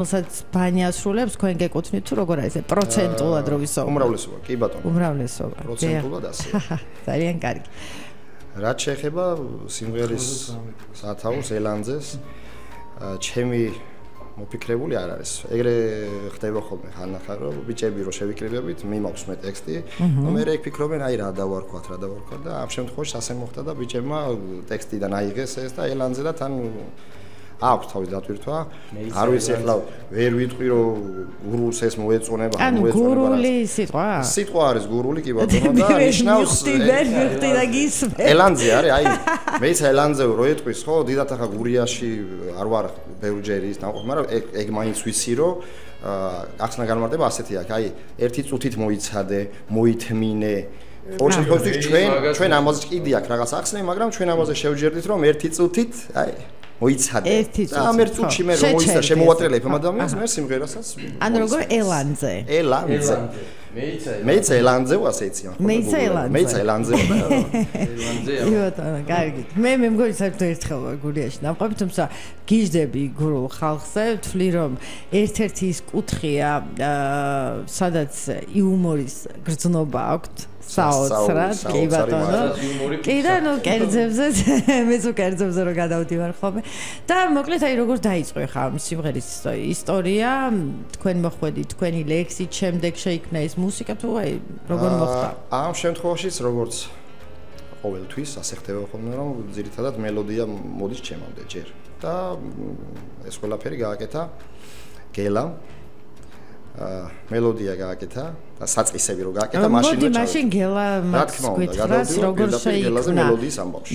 რომელსაც ბანი ასრულებს, თქვენ გეკუთვნით თუ როგორ არის, პროცენტულად რო ვისაუბროთ. უმრავლესობა, კი ბატონო. უმრავლესობა. პროცენტულად ასე. ძალიან კარგი. რაც შეეხება სიმღერის სათაურს ელანძეს, ჩემი მოფიქრებული არ არის. ეგრე ხდება ხოლმე ხანახან, რომ ბიჭები რო შევიკრიბებით, მიმაქვს მე ტექსტი, მე რე ფიქრობენ, აი რა დავარქვათ და ამ შემთხვევაში ასე მოხდა და ბიჭებმა ტექსტიდან აიღეს ეს და ელანძე და თან აქვს თავის დატვირთვა. არ ვიცი ახლა ვერ ვიტყვი რომ გურულს ეს მოეწონება, ანუ გურული სიტყვა? სიტყვა არის გურული კი ბატონო და ნიშნავს ვიხდი და გისმე. ელანძე არის, აი მეც ელანძე რო ეტყვის ხო, დიდათ ახლა გურიაში არ ვარ ბევრჯერ ის ნაყოფი, მაგრამ ეგ მაინც ვიცი რომ ახსნა განმარტება ასეთი აქვს, აი ერთი წუთით მოიცადე, მოითმინე ყოველ შემთხვევაში ჩვენ ამაზე კიდე აქვს რაღაც ახსნები, მაგრამ ჩვენ ამაზე შევჯერდით რომ ერთი წუთით, აი მოიცადე. და ამ ერთ წუთში მე რომ მოიცადე, შემოვატრიალებ ამ ადამიანს, მე სიმღერასაც. ანუ როგორ ელანძე. ელანძე. მეიცა ელანძე ასე იციან ხო? მეიცა ელანძე. იბატონო, კარგი. მე მგონი საერთოდ ერთხელ ვარ გურიაში ნამყოფი, თუმცა გიждები გურულ ხალხზე, ვთვლი რომ ერთ-ერთი ის კუთხეა, სადაც იუმორის გრძნობა აქვს. საოცრად, კი ბატონო. კი და ნუ კერძებზე, მეც უკერძებზე რო გადავდივარ ხოლმე. და მოკლედ აი როგორ დაიწყო ხა ამ სიმღერის ისტორია, თქვენ მოხვედით, თქვენი ლექსით, შემდეგ შეიქმნა ეს მუსიკა თუ აი როგორ მოხდა? ამ შემთხვევაშიც როგორც ყოველთვის ასე ხდება ხოლმე, რომ ძირითადად მელოდია მოდის ჩემამდე ჯერ. და ეს ყველაფერი გააკეთა გელამ. მელოდია გააკეთა და საწყისები რო გააკეთა მაშინვე ჩავედი. მაშინ გელა მას გითხრას როგორ შეიქმნა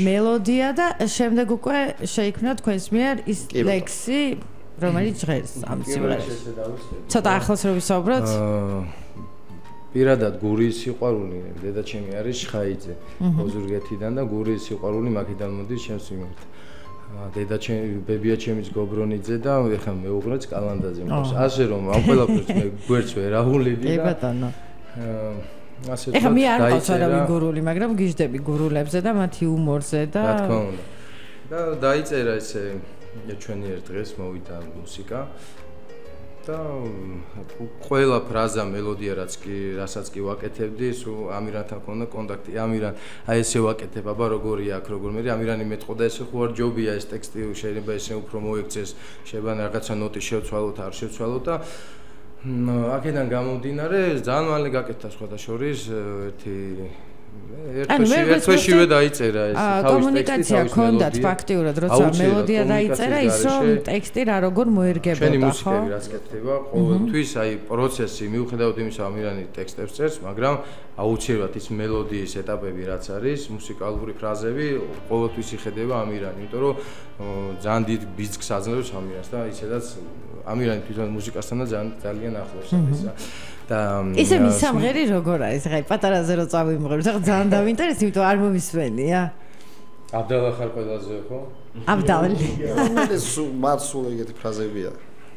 მელოდია და შემდეგ უკვე შეიქმნა თქვენს მიერ ის ლექსი, რომელიც ჟღერს ამ სიმღერას. ცოტა ახლოს რო ვისაუბროთ? პირადად გურიის სიყვარული დედაჩემი არის შხაიძე ოზურგეთიდან და გურიის სიყვარული მაგიდან მოდის ჩემს მიმართ. დედაჩემი ბებია ჩემის გობრონიძე და ეხლა მეუღლეც კალანდაძე მყავს. ასე რომ ამ ყველაფერს მე გვერდს ვერ აღვლიდი და კი ბატონო. ასე ეხლა მე არ ყავს არავინ გურული, მაგრამ გიждები გურულებზე და მათი იუმორზე და რა თქმა უნდა. და დაიწერა ესე ჩვენი ერთ დღეს მოვიდა მუსიკა და ყველა ფრაზა მელოდია რასაც კი ვაკეთებდი, სულ ამირანთან ქონდა კონტაქტი. ამირან აი ესე ვაკეთებ, აბა როგორია აქ როგორ მე ამირანი მეტყოდა ესე ხო არ ჯობია ეს ტექსტი შეიძლება ესე უფრო მოექცეს, შეიძლება რაღაცა ნოტი შევცვალოთ, არ შევცვალოთ და აქედან გამომდინარე ძალიან მალე გაკეთდა სხვადასხვის ერთშივე დაიწერა ეს თავის ტექსტი. კომუნიკაცია ჰქონდათ ფაქტიურად, როცა მელოდია დაიწერა, ის რომ ტექსტი რა როგორ მოერგებოდა, ხო? ჩვენი მუსიკები რაც კეთდება, ყოველთვის აი პროცესი მიუხედავად იმისა, ამირანი ტექსტებს წერს, მაგრამ აუცილებლად ის მელოდიის ეტაპები რაც არის, მუსიკალური ფრაზები ყოველთვის იხედება ამირანი, იმიტომ რომ ძალიან დიდ ბიძგს აძლევს ამირანს და ისედაც ამირანი თვითონ მუსიკასთან ძალიან ახლოს არის და ისე მის სამღერი როგორ არის? ხაი პატარაზე რო წავიმღეროთ, ახლა ძალიან დავინტერესდი, იმიტომ არ მომისმენია. აბდალა ხარ ყველაზე ხო? აბდალი. ეს მათ სულ ეგეთი ფრაზებია.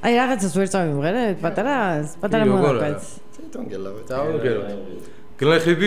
აი რაღაცას ვერ წავიმღერეთ, პატარა მონაკვეთს. თვითონ გელავეთ. დავუგეროთ. გლეხები